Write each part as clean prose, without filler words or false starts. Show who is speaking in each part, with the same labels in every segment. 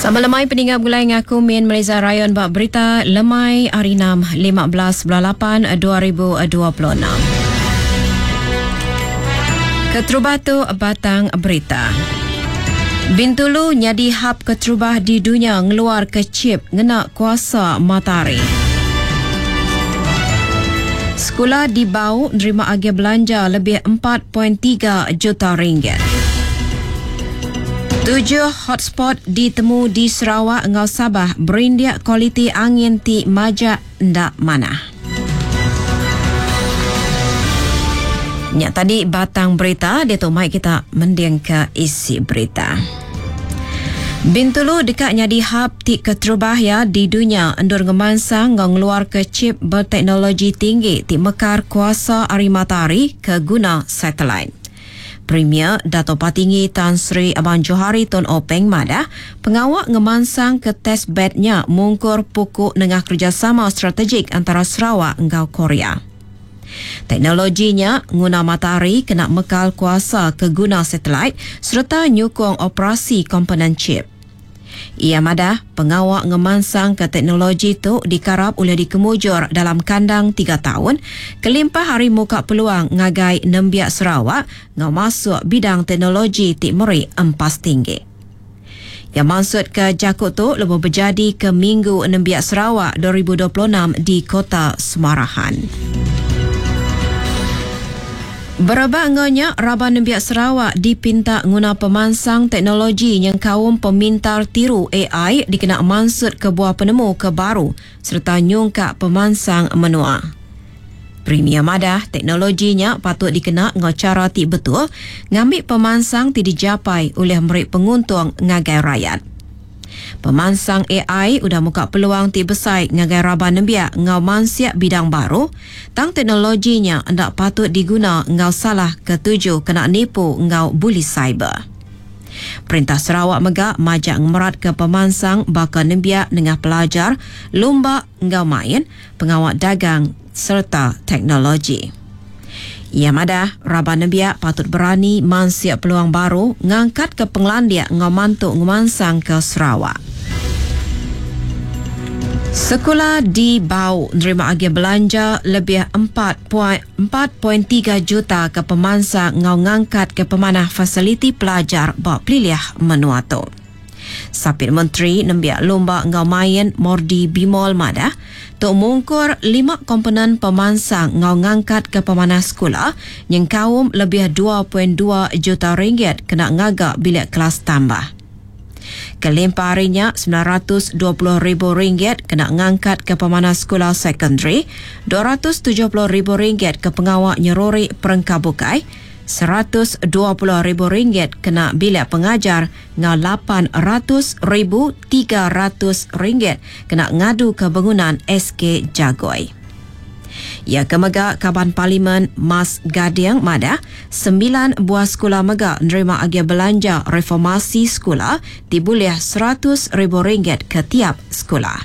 Speaker 1: Sama lemai peninga begulai ngaku Min Meliza Rayon ba berita lemai hari 6 15 bulan 8 2026. Keterubah tu batang berita. Bintulu nyadi hub keterubah di dunya ngeluar ke chip ngena kuasa matahari. Sekula di Bau nerima agih belanja lebih 4.3 juta ringgit. Tujuh hotspot ditemu di Sarawak enggau Sabah berindik kualiti angin ti majak enda manah. Nya tadi batang berita diatu mai kita mendingka isi berita. Bintulu deka nyadi hub ti keterubah iya di dunya endur ngemansang enggau ngeluarka chip beteknologi tinggi ti mekar kuasa ari matahari ke guna satelit. Premier Datuk Patinggi Tan Sri Abang Johari Tun Openg madah, pengawa ngemansangka test bed nya mungkur puku nengah kerejasama strategik antara Sarawak enggau Korea. Teknologi nya nguna matahari kena mekal kuasa ke guna satelit sereta nyukung operasi komponen chip. Iya madah, pengawa ngemansangka teknologi tu dikarap ulih dikemujur dalam kandang tiga taun kelimpah ari muka peluang ngagai nembiak Sarawak enggau masuk bidang teknologi ti meri empas tinggi. Iya mansutka jaku tu lebuh bejadika Minggu Nembiak Sarawak 2026 di Kota Semarahan. Berebak enggau nya, raban nembiak Sarawak dipinta nguna pemansang teknologi nyengkaum pemintar tiru ai dikena mansutka buah penemu ke baru sereta nyungkak pemansang menua. Premier madah teknologi nya patut dikena enggau chara ti betul ngambi pemansang ti dijapai ulih meri penguntung ngagai rayat. Pemansang ai udah muka peluang ti besai ngagai raban nembiak enggau mansik bidang baru, tang teknologi nya enda patut diguna enggau salah ke tuju kena nipu enggau buli siber. Perintah Sarawak mega majak ngemeratka pemansang baka nembiak nengah pelajar, lumba enggau main, pengawa dagang sereta teknologi. Iya madah, raban nembiak patut berani mansik peluang baru ngangkatka pengelandik enggau mantu ngemansangka Sarawak. Sekula di Bau nerima agih belanja lebih 4.3 juta ke pemansang enggau ngangkatka pemanah fasiliti pelajar ba pelilih menua tu. Sapit Menteri Nembiak Lumba enggau Main Mordi Bimol madah, tu mungkur lima komponen pemansang enggau ngangkatka pemanah sekula nyengkaum lebih 2.2 juta ringgit kena ngaga bilik kelas tambah. Kelimpah ari nya, 920 ribu ringgit kena ngangkatka pemanah sekula sekondari, 270 ribu ringgit ke pengawa nyeruri perengka bukai, 120 ribu ringgit kena bilik pengajar enggau 800 ribu 300 ringgit kena ngaduka bengunan SK Jagoi. Iya ke mega Kaban Parlimen Mas Gading madah, sembilan buah sekula mega nerima agih belanja reformasi sekula ti bulih 100 ribu ringgit ke tiap sekula.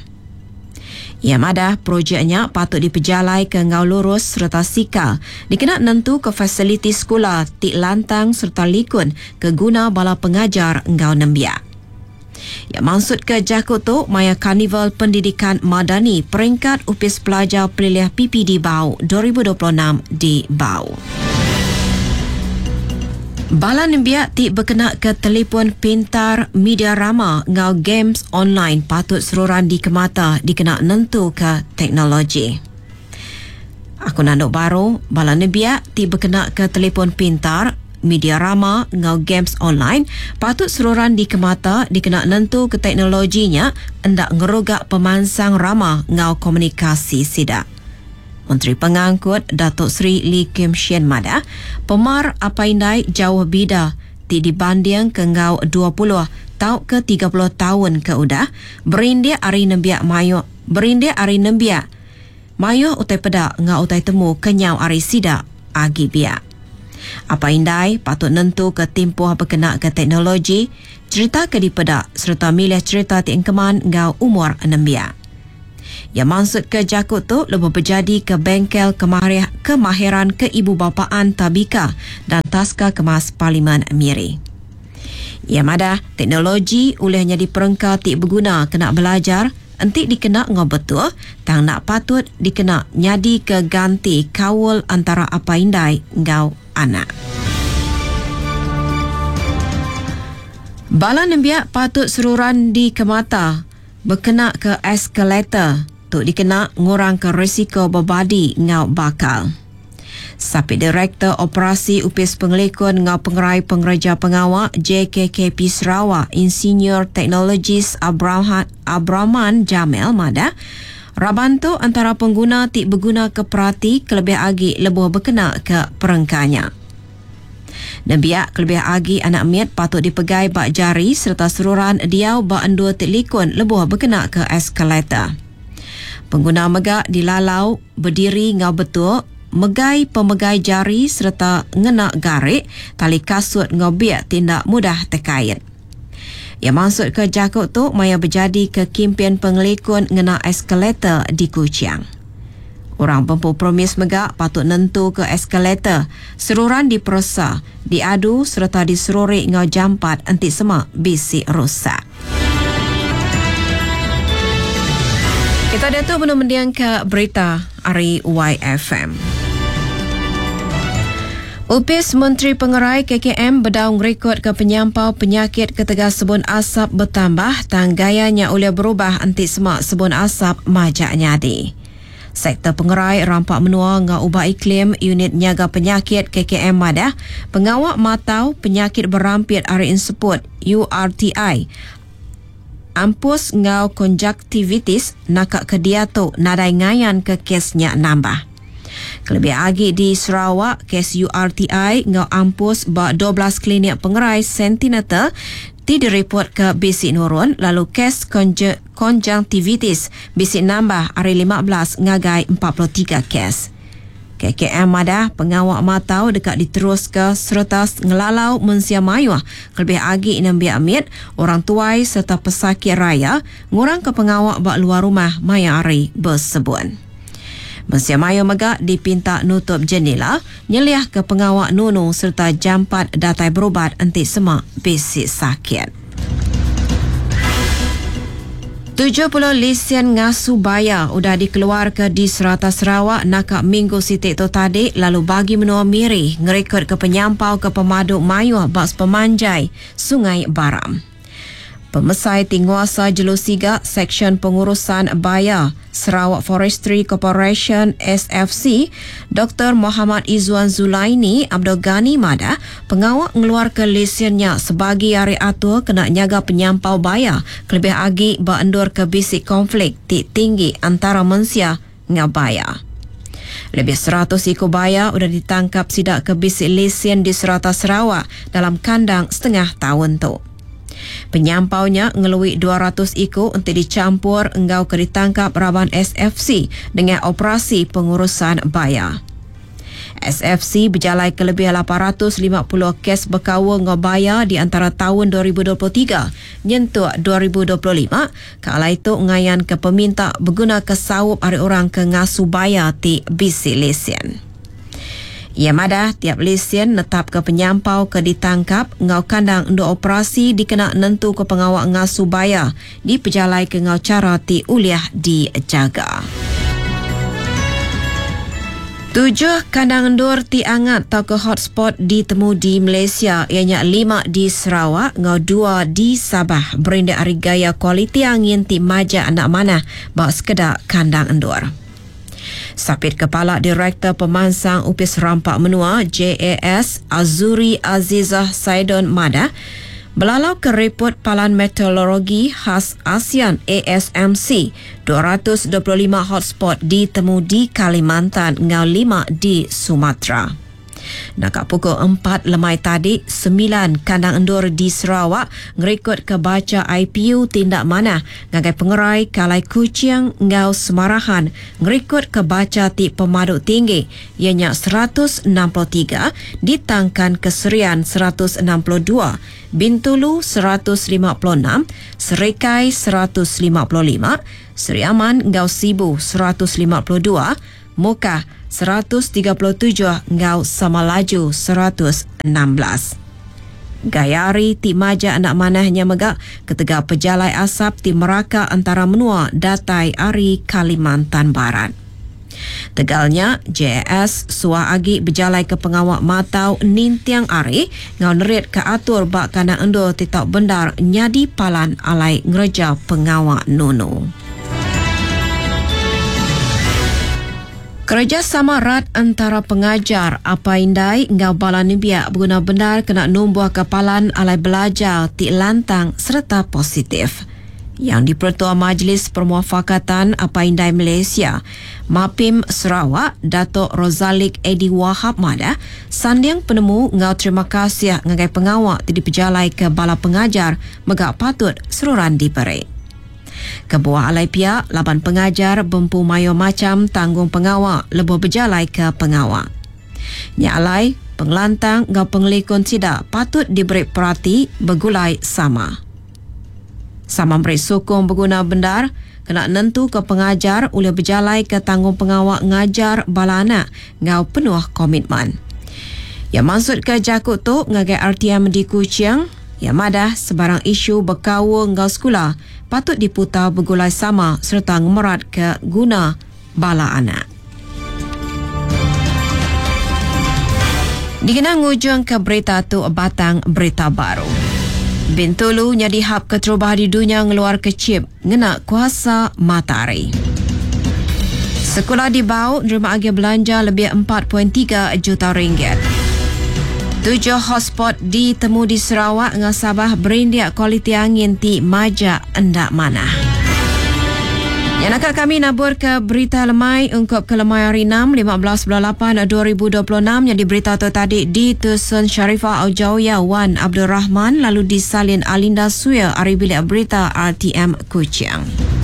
Speaker 1: Iya madah, projek nya patut dipejalaika enggau lurus sereta sikar dikena nentuka fasiliti sekula ti lantang sereta likun ke guna bala pengajar enggau nembiak. Iya mansutka jaku tu maya Karnival Pendidikan Madani Peringkat Opis Pelajar Pelilih PPD Bau 2026 di Bau. Bala nembiak ti bekenaka telefon pintar, media rama enggau games online patut seruran dikemata dikena nentuka teknologi. Aku nandu baru, bala nembiak ti bekenaka telefon pintar, media rama enggau games online patut seruran dikemata dikena nentuka teknologi nya enda ngeruga pemansang rama enggau komunikasi sida. Menteri Pengangkut Datuk Seri Lee Kim Shin madah, pemar apai indai jauh bida ti dibandingka enggau 20 tauka 30 taun ke udah berindik ari nembiak mayuh berindik ari nembiak mayuh utai peda enggau utai temu kenyau ari sida agi biak. Apai indai patut nentuka timpuh bekenaka teknologi, cherita ke dipeda sereta milih cherita ti engkeman enggau umur nembiak. Iya mansutka jaku tu lebuh bejadika Bengkel Kemahir Kemahiran Keibubapaan Tabika dan Taska Kemas Parlimen Miri. Iya madah, teknologi ulih nyadi perengka ti beguna kena belajar enti dikena enggau betul tang enda patut dikena nyadika ganti kaul antara apai indai enggau anak. Bala nembiak patut seruran dikemata bekenaka eskalator tu dikena ngurangka risiko bebadi enggau bakal. Sapit Direktor Operasi Opis Pengelikun enggau Pengerai Pengereja Pengawa JKKP Sarawak Insinyur Teknologis Abrahman Jamil madah, raban tu antara pengguna ti begunaka perati kelebih agi lebuh bekenaka perengka nya. Nembiak kelebih agi anak mit patut dipegai ba jari sereta seruran diau ba endur ti likun lebuh bekenaka eskalator. Pengguna mega dilalau bediri enggau betul, megai pemegai jari sereta ngena garik, tali kasut enggau bik ti enda mudah tekait. Iya mansutka jaku tu maya bejadika kimpin pengelikun ngena eskalator di Kuching. Orang bempu premis mega patut nentuka eskalator seruran diperesa, diadu sereta diseruri enggau jampat enti sema bisi rusak. Kita diatu benung mendingka berita ari YFM. Opis Menteri Pengerai KKM bedau ngerikodka penyampau penyakit ketegal sebun asap betambah tang gaya nya ulih berubah enti sema sebun asap majak nyadi. Sektor Pengerai Rampa Menua enggau Ubah Iklim Unit Nyaga Penyakit KKM madah, pengawa matau penyakit berampit ari enseput, URTI, ampus enggau konjaktivitis naka ke diatu nadai ngayanka kes nya nambah. Kelebih agi di Sarawak, kes URTI enggau ampus ba 12 klinik pengerai Sentinatal ti diripotka bisi nurun lalu kes konjunktivitis bisi nambah ari 15 ngagai 43 kes. KKM madah pengawa matau deka diteruska sereta ngelalau mensia mayuh kelebih agi nembiak mit, orang tuai sereta pesakit raya ngurangka pengawa ba luar rumah maya hari besebun. Mensia mayuh mega dipinta nutup jenila, nyeliahka pengawa nunu sereta jampat datai berubat enti sema bisi sakit. 70 lisen ngasu baya udah dikeluarka di serata Sarawak naka minggu siti tu tadi lalu bagi menua Miri ngerikodka penyampau ke pemadu mayuh ba sepemanjai Sungai Baram. Pemesai ti nguasa jelu siga Seksyen Pengurusan Baya, Sarawak Forestry Corporation, SFC, Doktor Mohamad Izwan Zulaini Abdul Ghani madah, pengawa ngeluarka lesen nya sebagi ari atur kena nyaga penyampau baya kelebih agi ba endur ke bisi konflik ti tinggi antara mensia enggau baya. Lebih 100 iku baya udah ditangkap sida ke bisi lesen di serata Sarawak dalam kandang setengah taun tu. Penyampau nya ngelui 200 iku enti dichampur enggau ke ditangkap raban SFC nengah operasi pengurusan baya. SFC bejalaika lebih 850 kes bekaul enggau baya di antara taun 2023 nyentuk 2025, ke alai tu ngayanka peminta begunaka saup ari orang ke ngasu baya ti bisi lesen. Iya madah, tiap lesen netapka penyampau ke ditangkap enggau kandang endur operasi dikena nentuka pengawa ngasu baya dipejalaika enggau chara ti ulih dijaga. Tujuh kandang endur ti angat tauka hotspot ditemu di Malaysia iya nya lima di Sarawak enggau dua di Sabah berindik ari gaya kualiti angin ti majak enda manah ba sekeda kandang endur. Sapit Kepala Direktor Pemansang Opis Rampa Menua, JAS, Azuri Azizah Saidon madah, belalauka ripot Palan Meteorologi Khas ASEAN, ASMC, 225 hotspot ditemu di Kalimantan enggau lima di Sumatera. Naka pukul empat lemai tadi, semilan kandang endur di Sarawak ngerikodka bacha IPU ti enda manah ngagai pengerai ke alai Kuching enggau Semarahan ngerikodka bacha ti pemadu tinggi iya nya 163 ditangkanka Serian 162, Bintulu 156, Serikai 155, Sri Aman enggau Sibu 152, Mukah 137 enggau Samalaju 116. Gaya hari ti majak enda manah nya mega ketegal pejalai asap ti meraka entara menua datai ari Kalimantan Barat. Tegal nya, JAS suah agi bejalaika pengawa matau ninting hari enggau neritka atur ba kandang endur ti tau bendar nyadi palan alai ngereja pengawa nunu. Kerejasama rat entara pengajar, apai indai enggau bala nembiak beguna bendar kena numbuhka palan alai belajar ti lantang sereta positif. Yang Dipertua Majlis Permuafakatan Apai Indai Malaysia, MAPIM, Sarawak, Datuk Rozalik Eddy Wahab madah, sanding penemu enggau terima kasih ngagai pengawa ti dipejalaika bala pengajar mega patut seruran diberi. Kebuah alai pia laban pengajar bempu mayuh macham tanggungpengawa lebuh bejalaika pengawa. Nya alai, pengelantang enggau pengelikun sida patut diberi perati begulai sama. Sama meri sukung beguna bendar kena nentuka pengajar ulih bejalaika tanggungpengawa ngajar bala anak enggau penuh komitmen. Iya mansutka jaku tu ngagai RTM di Kuching, iya madah sebarang isu bekaul enggau sekula patut diputar begulai sama sereta ngemeratka guna bala anak. Dikena ngujungka berita tu batang berita baru. Bintulu nyadi hub keterubah di dunya ngeluarka chip ngena kuasa matahari. Sekula di Bau nerima agih belanja lebih 4.3 juta ringgit. Tujuh hotspot ditemu di Sarawak enggau Sabah berindik kualiti angin ti majak enda manah. Nya naka kami naburka berita lemai ungkup ke lemai hari 6, 15 bulan 8, 2026 nyadi berita tu tadi ditusun Sharifah Aujauya Wan Abdul Rahman lalu disalin Alinda Suya ari Bilik Berita RTM Kuching.